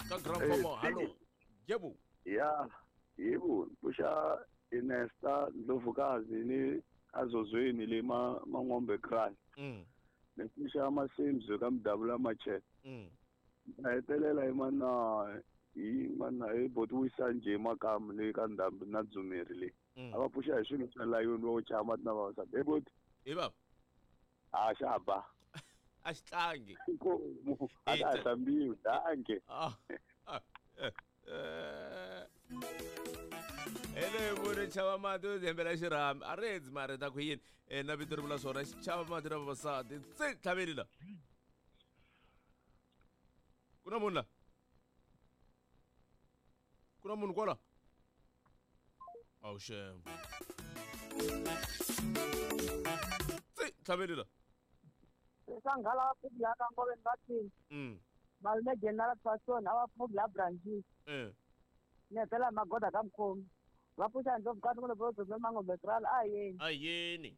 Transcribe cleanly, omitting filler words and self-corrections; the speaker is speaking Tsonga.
Ka grand fomo hallo. Yebo. Ya, yebo, pfuxa Inesta Ndlovukazi ni Azozweni le ma Mangombe Kraal. Ni pfuxa Masimzi ka Mdavula Machete. Na hetelela hi mana hi mana hi boti wisa njhe makamu le ka ndhambi na dzumeri le. A va pfuxa hi swilo swa layoni wo chaya mati na vavasati. Hey boti. Hi baba. A xa ba. A xi tlangi. Inkomu a ta hlambiwi danke. Hele vuri chava mati u hembela xirhami a ri endzi mari ta ku yini na vito ri vula swona chava mati na vavasati tse tlhaveli la ku na munhu la ku na munhu kwala awu xem tse tlhaveli la Sanghala va phugula ka ngoveni va thini malume General Fashion a va phugula branches ni hetela magoda ka mukhomi va pfuxa ndlopfu ka tin'wana vo dzumbe mangombe kral a yeni a yeni.